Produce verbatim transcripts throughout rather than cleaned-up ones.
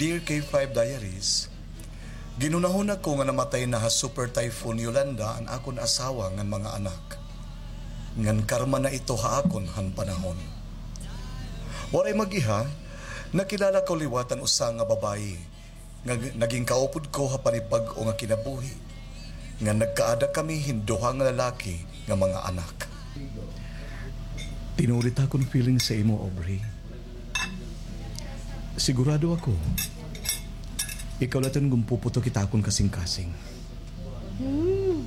Dear K five Diaries, ginhunahuna ko nga namatay na ha Super Typhoon Yolanda an akon asawa ngan mga anak. Ngan karma na ito ha akon han panahon. Waray mag-iha, nakilala ko liwat an usa nga babayi nga g-, naging kaupod ko ha panibag-o nga kinabuhi, nga nagkaada kami hin duha nga lalaki nga mga anak. Tinuod it akon feeling sa imo, Aubrey. Sigurado ako, ikaw la iton gumpuputok it akon kasingkasing. Hmm.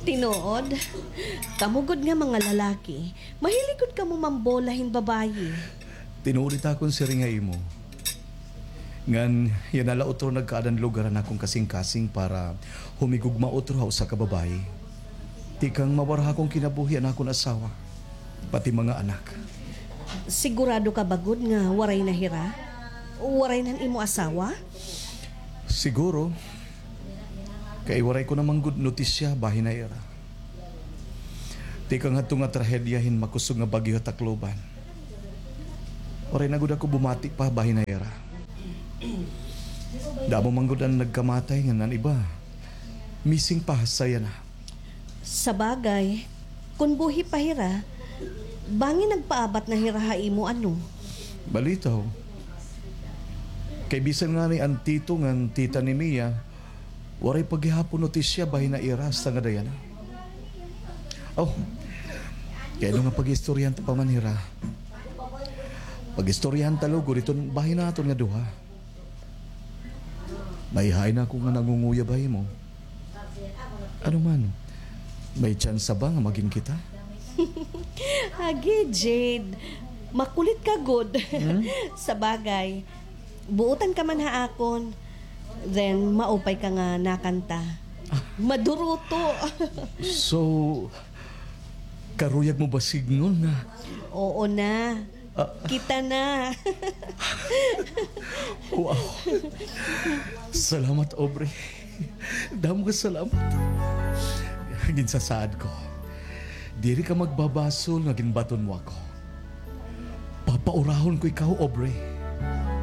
Tinuod? Kamo gud nga mga lalaki, mahilig gud kamo mambola hin babayi. Tinuod it akon siring ha imo. Ngan yana la utro nagkaada hin lugar an akon kasingkasing para humigugma utro ha usa ka babayi. Tikang mawara ha akon kinabuhi an akon asawa, pati mga anak. Sigurado ka ba gud nga waray na hira? Waray na an imo asawa? Siguro. Kay waray ko na man gud notisya bahin ha ira. Tikang hadto nga trahedya hin makusog nga bagyo ha Tacloban, waray na gud ako bumati pa bahin ha ira. Damo man gud an nagkamatay ngan an iba missing pa ha saya na. Sabagay, kon buhi pa hira, bangin nagpaabat na hira ha imo, ano? Balitaw. Kay bisan ngani an tito ngan tita ni Mia, waray pa gihapon notisya bahin ha ira hasta ngada yana. Oh, kay ano nga pag-istoryahan ta pa man hira? Pag-istoryahan ta lugod iton bahin naton nga duha. Nahihain ako nga nangunguyab ha imo. Ano man, may tsansa ba nga magin kita? Agi, Jade. Makulit ka gud. Hmm? Sabagay, buotan ka man ha akon. Then, maupay ka nga nakanta. Maduruto. So, karuyag mo ba sidngon nga? Oo na. Ah. Kita na. Wow. Salamat, Aubrey. Damo nga salamat. Ginsasaad ko, diri ka magbabasol nga ginbaton mo ako. Papaurahon ko ikaw, Aubrey.